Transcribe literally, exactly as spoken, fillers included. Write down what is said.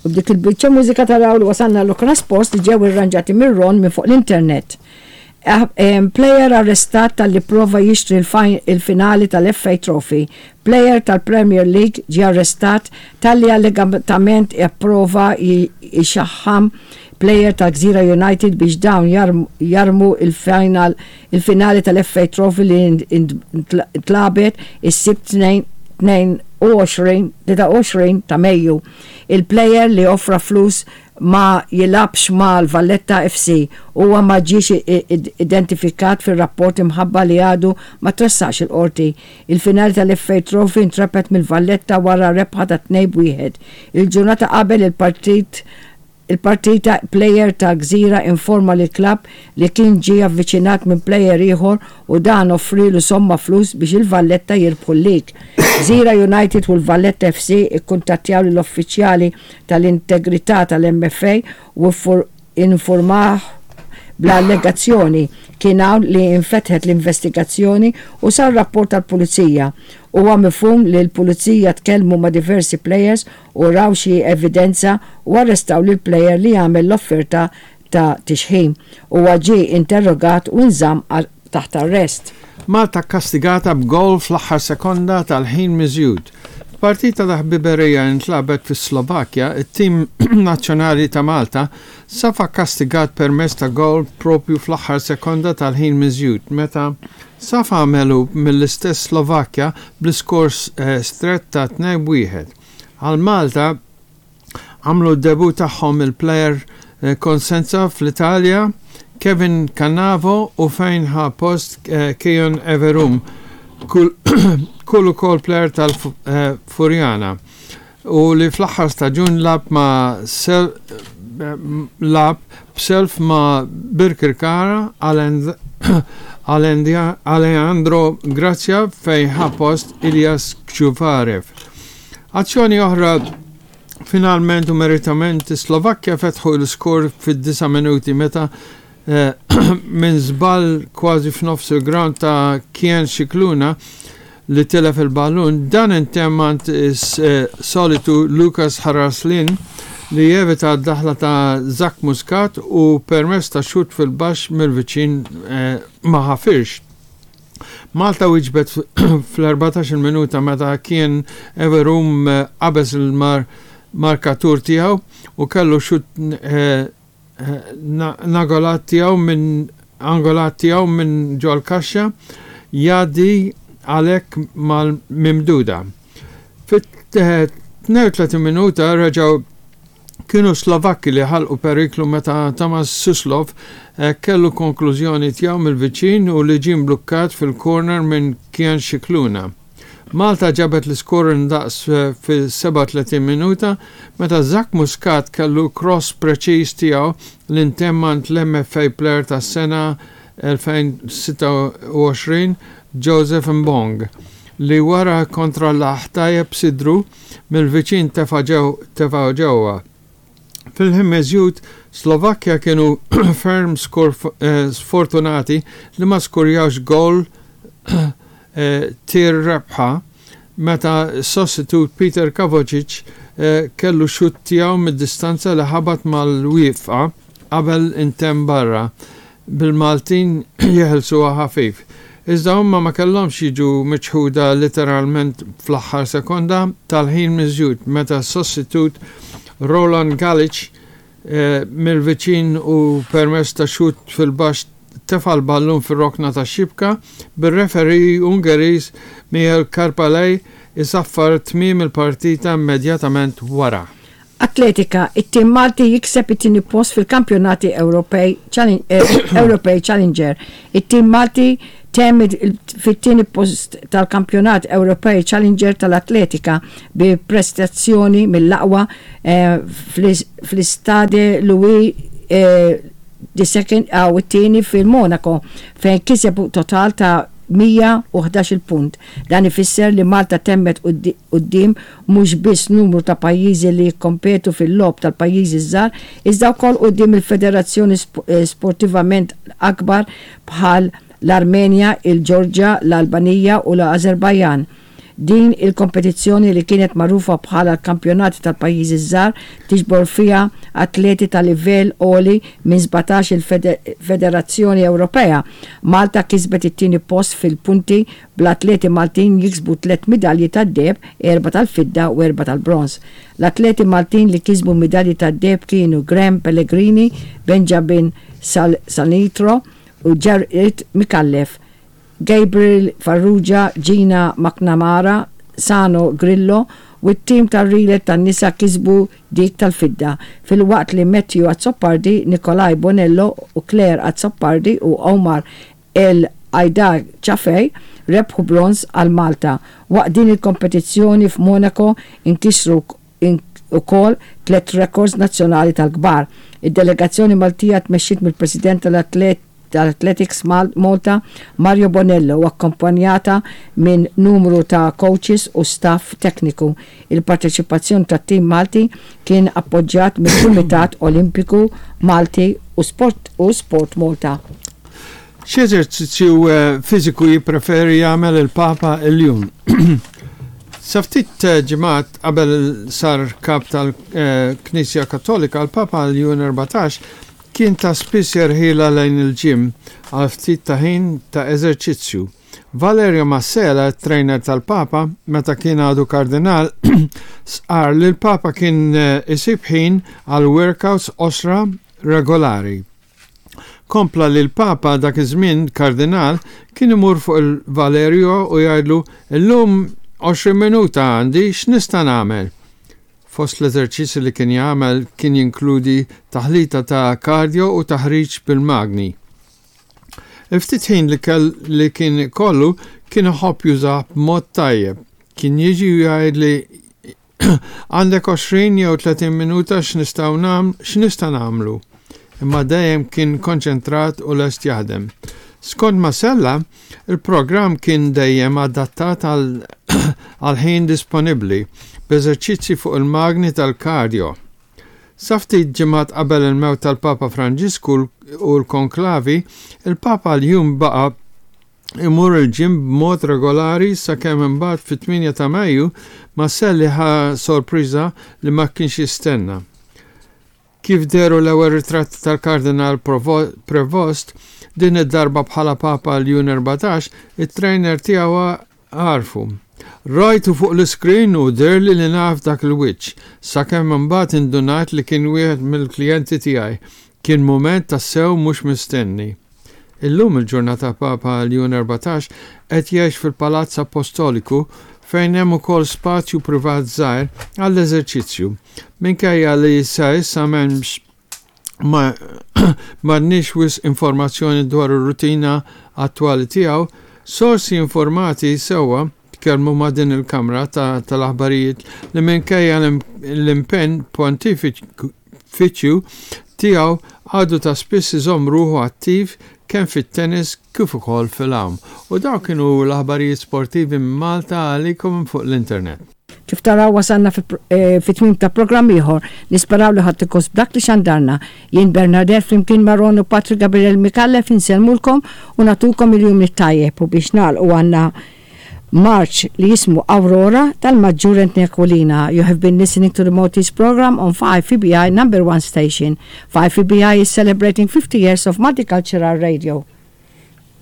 U b'dik il-biċċa mużika taraw li wasalna l-okra sports li ġew irranġati mir-Ron minn fuq l-internet. Eh, em, Player arrestat talli prova jixtri il-fi- il-finali tal-F A Trophy. Player tal-Premier League ġie arrestat talli allegatament ipprova jixaħħam player tal-Gżira United biex dawn jarm- jarmu il-final il-finali tal-F A Trophy li ntlagħbet is-Sibt tnejn u għoxrin tlieta u għoxrin ta' Mejju. Il-player li offra flus ma jilgħabx mal-Valletta F C huwa ma ġiex i- i- identifikat fil-rapport imħabba li għadu ma tressax il-qorti. Il-finali tal-F A Trophy intrebħet mill-Valletta wara rebħa ta' tnejn wieħed. Il-ġurnata qabel il-partit il-partita, player ta' Gżira informa li klab li kien ġie avviċinat minn player ieħor u dan offrilu somma flus biex il-Valletta jirbħu l-lig. Gżira United u l-Valletta F C ikkuntattjaw l-uffiċjali tal-integrità tal-M F A u informah bl-allegazzjoni. Kien hawn li infetħet l-investigazzjoni u sar rapport tal-pulizija. Huwa mifhum li l-pulizija tkellmu ma' diversi players u raw xi evidenza u arrestaw lil player li għamel l-offerta ta' tixħim. Huwa ġie interrogat u nżamm taħt arrest. Malta kastigata b'gol fl-aħħar sekonda tal-ħin miżjud. Partita ta' ħbiberija intlagħbet fis Slovakkja, it-tim nazzjonali ta' Malta safa kastigat permezz ta' gol propju fl-aħħar sekonda tal-ħin miżjud meta safa għamelu mill-istess Slovakkja bl-iskor eh, stret ta' tnejn wieħed. Għal Malta għamlu d-debut tagħhom il-player eh, Cosenza fl-Italja, Kevin Cannavo, u fejn ħa post eh, Keyon Everum, kull kull ukoll player tal-Furjana u li fl-aħħar staġun lagħab ma' sel lagħab b'self ma' Birkirkara. Alejandro Grazia fejn ħa post Ilias Kjuvarev. Azzjoni oħra. Finalment u meritament Slovakkja fetħu l-skor fid-disa' minuti meta eh, minn żball kważi f'nofs il-ground ta' Kian Scicluna li tilef il-ballun, dan intemm għand is-solitu Lukas Haraslin li jevita d-daħla ta' Zach Muscat u permezz ta' xut fil-baxx mill-viċin eh, ma ħafirx. Malta wieġbet fl-erbatax-il minuta meta kien Everum eh, qabeż il-mar markatur tiegħu u kellu xut eh, angolat tiegħu minn angolat tiegħu minn ġol-kaxxa jgħaddi għalhekk mal-mimduda. Fit-tnejn u tletin minuta reġgħu kienu Slovakki li ħalqu periklu meta Tomas Suslov eh, kellu konklużjoni tiegħu mill-viċin u li ġie blukkat fil-corner minn Kian Scicluna. Malta ġabet l-iskor ndaqs eh, fil-sebgħa u tletin minuta meta Zach Muscat kellu cross preċiż tiegħu li ntemm għand l-M F A Player tas-sena elfejn u sitta u għoxrin Joseph Mbong li wara kontrollah tajjeb sidru mill-viċin tefa' ġewwa. Fil-ħin miżjud, Slovakkja kienu ferm eh, sfortunati li ma skurjawx gol eh, tir-rebħa meta sostitut Peter Kavocic eh, kellu xut tiegħu mid-distanza li ħabat mal-wieqfa qabel intemm barra, bil-Maltin jeħilsuha ħafif. Iżda huma ma kellhomx jiġu miċħuda literalment fl-aħħar sekonda tal-ħin miżjud meta sostitut Roland Galic eh, mill-viċin u permezz ta' xut fil-baxx tefa l-ballun fil-rokna ta' xibka, bil-referee Ungeriż Michael Karpalej isaffar tmiem il-partita immedjatament wara. Atletika, it-tim Malti jikseb it-tieni post fil-kampjonati Ewropej eh, Ewropej Challenger. It-tim Malti temm fit-tieni post tal-kampjonat Ewropej Challenger tal-atletika bi prestazzjoni mill-aqwa eh, fl-Stade Louis eh, the Second għaw it-tieni fil-Monaco, fejn kiseb total ta' mija u ħdax-il punt. Dan ifisser li Malta temmet quddiem mhux biss numru ta' pajjiżi li jikkompetu fil-logħob tal-pajjiżi żgħar, iżda wkoll quddiem il-federazzjoni eh, sportivament akbar bħal l-Armenja, il-Ġorġa, l-Albanija u l-Azerbajjan. Din il-kompetizzjoni, li kienet magħrufa bħala l-kampjonati tal-pajjiżi żgħar, tiġbor fiha atleti ta' livell għoli minn sbatax il-Federazzjoni Ewropea. Malta kisbet it-tieni post fil-punti, bl-atleti Maltin jiksbu tliet midalji tad-deheb, erba' tal-fidda u erba' tal-bronż. L-atleti Maltin li kisbu midalji tad-deheb kienu Graham Pellegrini, Benjamin Sal Sanitro u Jared Micallef. Gabriel Farrugia, Gina McNamara, Sano Grillo u t-tim tar-relay tan-nisa kisbu dik tal-fidda, filwaqt li Matthew Azzopardi, Nikolaj Bonello u Claire Azzopardi u Omar El Aida Chafej rebħu bronz għal Malta. Waqt din il-kompetizzjoni f'Monaco inkisru ukoll tliet records nazzjonali tal-kbar. Id-delegazzjoni Maltija tmexxiet mill-President tal-Atlet tal-Athletics Malta, Mario Bonello, u akkompanjata minn numru ta' coaches u staff tekniku. Il-parteċipazzjoni tat-tim Malti kien appoġġjat mill-Kumitat Olimpiku Malti u Sport u Sport Malta. X'eżerċizzju eh, fiżiku jippreferi jagħmel il-Papa Ljun? Sa ftit eh, ġimgħat qabel sar kap tal-Knisja Kattolika, l-Papa Ljun erbatax kien ta' spiss jerħila lejn il-gym għal ftit ta' ħin ta' eżerċizzju. Valerio Massella, trainer tal-Papa, meta kien għadu kardinal, stqarr li l-Papa kien eh, isib ħin għal workouts qosra regolari. Kompla li l-Papa, dak iż-żmien kardinal, kien imur fuq il-Valerio u jgħidlu: "Illum għoxrin minuta għandi, x'nista' nagħmel?" Fost l-eżerċizzi li kien jagħmel kien jinkludi taħlita ta' cardio u taħriġ bil-magni. Il-ftit ħin li, kell, li kien kollu kien iħobb jużah b'mod tajjeb. Kien jiġi u jgħidli: 'Għandek għoxrin jew tletin minuta, x'nistgħu nam x'nista' nagħmlu?' Imma dejjem kien konċentrat u lest jaħdem." Skont Masella, il-programm kien dejjem adattat għal ħin disponibbli, b'eżerċizzi fuq il-magni tal-cardio. Sa ftit ġimgħat qabel il-mewt tal-Papa Franġisku u l-konklavi, il-Papa Ljun baqa' imur il-gym b'mod regolari sakemm imbagħad fit-tmienja ta' Mejju Masselli ħa sorpriża li ma kienx jistenna. Kif dehru l-ewwel ritratti tal-Kardinal Prevost, din id-darba bħala Papa Ljun erbatax, it-trainer tiegħu għarfu. "Rajtu fuq l-iskrin u deherli li naf dak il-wiċċ, sakemm imbagħad indunat li kien wieħed mill-klijenti tiegħi. Kien mument tassew mhux mistenni." Illum il-ġurnata Papa Ljun erbatax qed jgħix fil-Palazz Apostoliku, fejn hemm ukoll spazju privat żgħir għall-eżerċizzju. Minkejja li sa issa m'hemmx ma m'għandniex wisq informazzjoni dwar ir-rutina attwali tiegħu, sorsi informati sewwa tkellmu ma' din il-kamra tal-aħbarijiet li minkejja l-impenn pontifiċju tiegħu għadu ta' spiss iżomm ruħu attiv kemm fit-tennis kif ukoll fil-għawm. U dawk kienu l-aħbarijiet sportivi minn Malta għalikom fuq l-internet. Kif taraw, wasalna eh, fit-tmim ta' programm ieħor. Nisperaw li ħadtu gost b'dak li xandarna. Jien Bernadette flimkien ma' Ron u Patrick Gabriel Micallef insellmulkom u nagħtukom il-jum it-tajjeb, u biex nagħlqu għandna marċ li jismu Aurora tal-Maġġur Anthony Aquilina. You have been listening to the Maltese program on five E B I number one station. five E B I is celebrating fifty years of multicultural radio.